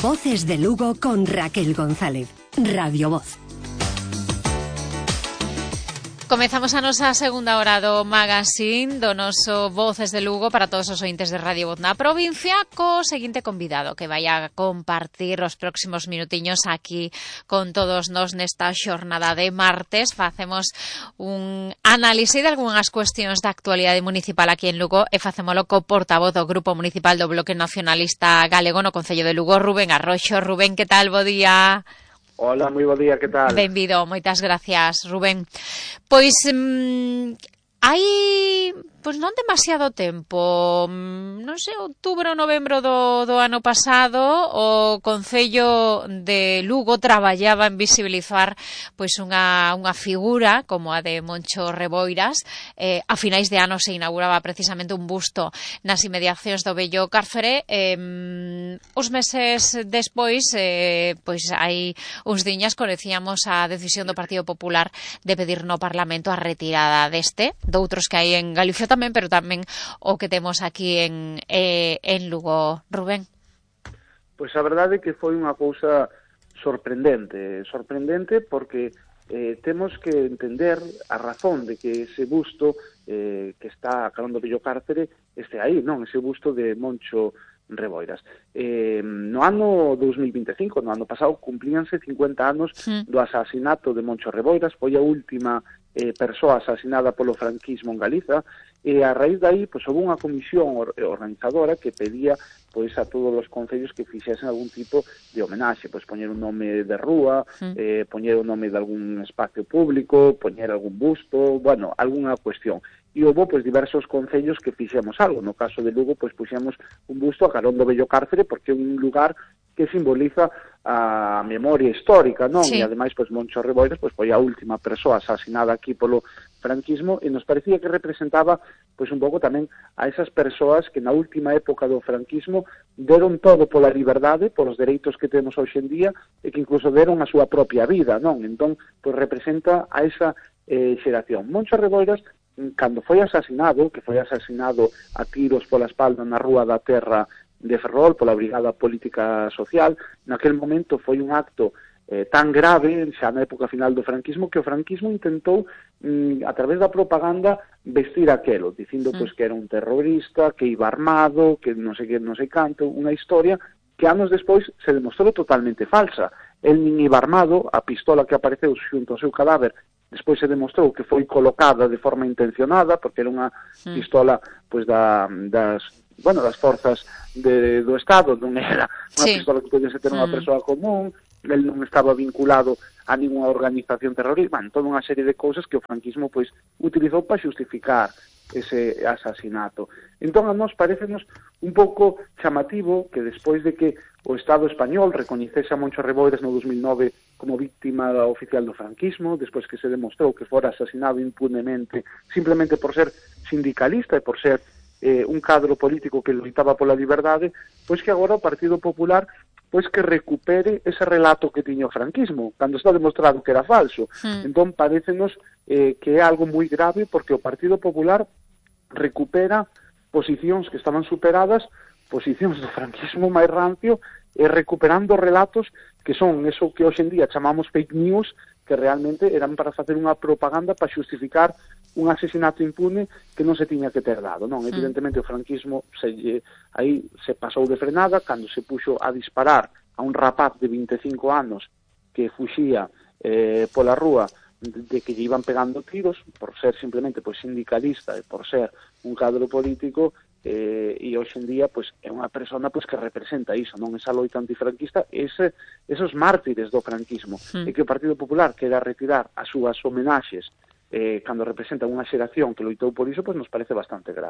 Voces de Lugo con Raquel González. Radio Voz. Comezamos a nosa segunda hora do magazine do noso Voces de Lugo para todos os ointes de Radio Voz na provincia, co seguinte convidado que vai a compartir os próximos minutiños aquí con todos nós nesta xornada de martes. Facemos un análise de algunhas cuestións da actualidade municipal aquí en Lugo e facémolo co portavoz do Grupo Municipal do Bloque Nacionalista Galego no Concello de Lugo, Rubén Arroxo. Rubén, que tal? Bo día. Hola, moi bo día, que tal? Benvido, moitas gracias, Rubén. Pois hai non demasiado tempo, non sei, outubro ou novembro do ano pasado, o Concello de Lugo traballaba en visibilizar pois unha figura como a de Moncho Reboiras. A finais de ano se inauguraba precisamente un busto nas inmediacións do vello cárcere. Os meses despois, pois hai uns diñas conocíamos a decisión do Partido Popular de pedir no Parlamento a retirada doutros que hai en Galicia tamén, pero tamén o que temos aquí en Lugo. Rubén. Pois a verdade é que foi unha cousa sorprendente porque temos que entender a razón de que ese busto que está a carón do vello cárcere este aí, non? Ese busto de Moncho Reboiras. No ano 2025, no ano pasado, cumplíanse 50 anos do asasinato de Moncho Reboiras. Foi a última persoa asasinada polo franquismo en Galiza, e a raíz de aí pois, houve unha comisión organizadora que pedía pois, a todos os concellos que fixesen algún tipo de homenaxe, pois poñer un nome de rúa, poñer un nome de algún espacio público, poñer algún busto, bueno, algunha cuestión. E houve pois, diversos concellos que fixemos algo. No caso de Lugo, pois puxemos un busto a carón do vello cárcere porque é un lugar que simboliza a memoria histórica, non? Sí. E ademais, pois, Moncho Reboiras pois, foi a última persoa asasinada aquí polo franquismo, e nos parecía que representaba pois un pouco tamén a esas persoas que na última época do franquismo deron todo pola liberdade, polos dereitos que temos hoxe en día, e que incluso deron a súa propia vida, non? Entón, pois representa a esa xeración. Moncho Reboiras, cando foi asasinado, que foi asasinado a tiros pola espalda na Rúa da Terra de Ferrol, pola Brigada Política Social, naquel momento foi un acto tan grave, xa na época final do franquismo, que o franquismo intentou, a través da propaganda, vestir aquelo, dicindo pois, que era un terrorista, que iba armado, que non sei canto, unha historia que anos despois se demostrou totalmente falsa. El nin iba armado, a pistola que apareceu xunto ao seu cadáver despois se demostrou que foi colocada de forma intencionada, porque era unha pistola pois, das forzas do Estado, non era unha pistola que podese ter unha persoa común, el non estaba vinculado a ninguna organización terrorista, toda unha serie de cousas que o franquismo pois utilizou para xustificar ese asasinato. Entón, a nós parecenos un pouco chamativo que despois de que o Estado español recoñecese a Moncho Reboiras no 2009 como víctima oficial do franquismo, despois que se demostrou que fora asasinado impunemente simplemente por ser sindicalista e por ser un cadro político que loitaba pola liberdade, pois que agora o Partido Popular pois que recupere ese relato que tiña o franquismo, cando está demostrado que era falso. Entón, parécenos que é algo moi grave porque o Partido Popular recupera posicións que estaban superadas, posicións do franquismo máis rancio, e recuperando relatos que son eso que hoxe en día chamamos fake news, que realmente eran para facer unha propaganda para xustificar un asesinato impune que non se tiña que ter dado, non? Evidentemente o franquismo aí se pasou de frenada cando se puxo a disparar a un rapaz de 25 anos que fuxía pola rúa de que lle iban pegando tiros por ser simplemente pois sindicalista e por ser un cadro político, e hoxe en día pois é unha persona pois que representa iso, non? Esa loita antifranquista, esos mártires do franquismo, e que o Partido Popular quera retirar as súas homenaxes cando representa unha xeración que loitou por iso, pois nos parece bastante grave.